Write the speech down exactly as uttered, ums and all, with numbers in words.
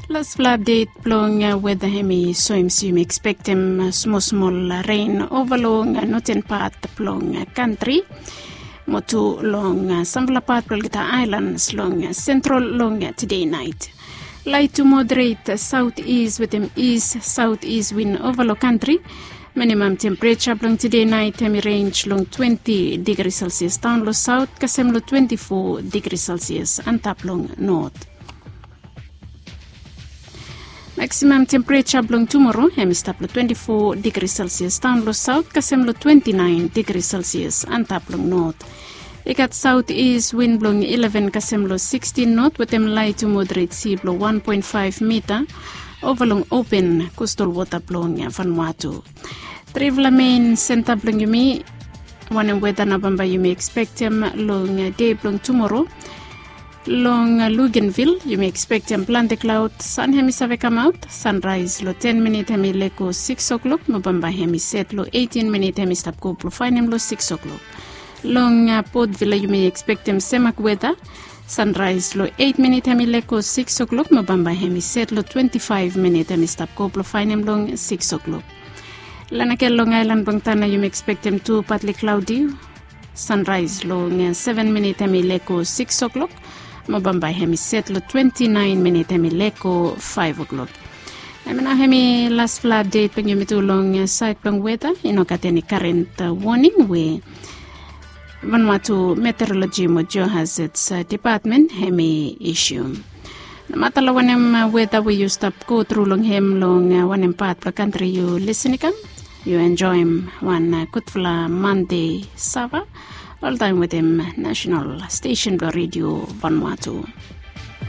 Lasfala apdet blong weda hem i soem se yumi ekspektem smosmol ren ova long noten pat blong kantri, mo tu long samfala pat blong olgeta aelans long sentral long tide nait. Lait tu moderet saot is wetem is saot is win ova long kantri. Minimam tempereja blong tide nait hem i renj long twenti digri selsias daon long saot kasem long twenti fo digri selsias antap long not. Maksimam tempereja blong tumoro hem i stap long twenti fo digri selsias daon long saot kasem long twenti naen digri selsias antap long not. I gat saot is win blong ileven kasem long sikstin not wetem lait tu moderet si blong wan poen faef mita ova long open kostal wota blong Vanuatu. Trifala mein senta blong yumi, wanem weda nao bambae yumi ekspektem long dei blong tumoro. Long Luganville yumi ekspektem plante klaod, san hem i save kamaot. Sanraes long ten minit hem i lego sikis oklok mo bambae hem i set long eitin minit hem i stap go blong faenem long sikis oklok. Long Port Vila yumi ekspektem semak weda. Sanraes long eit minit hem i lego sikis oklok mo bambae hem i set long twenti faef minit hem i stap go blong faenem long sikis oklok. Lanake long aelan blong Tana yumi ekspektem tu patli klaodi. Sanraes long seven minit hem i lego sikis oklok mo bambae hem i set long twenti naen minit hem i lego faef oklok. Hem i nao hem i lasfala apdet blong yumi tu long saed blong weda. I no gat eni karen woning we Vanuatu Meteoroloji mo Geohazards Depatmen hem i isium. Nomata long wanem weda we yu stap go tru long hem long wanem pat blong kantri yu lisin i kam, yu enjoem wan gudfala Mande sava oltaem wetem nasenal stesen blong redio Vanuatu.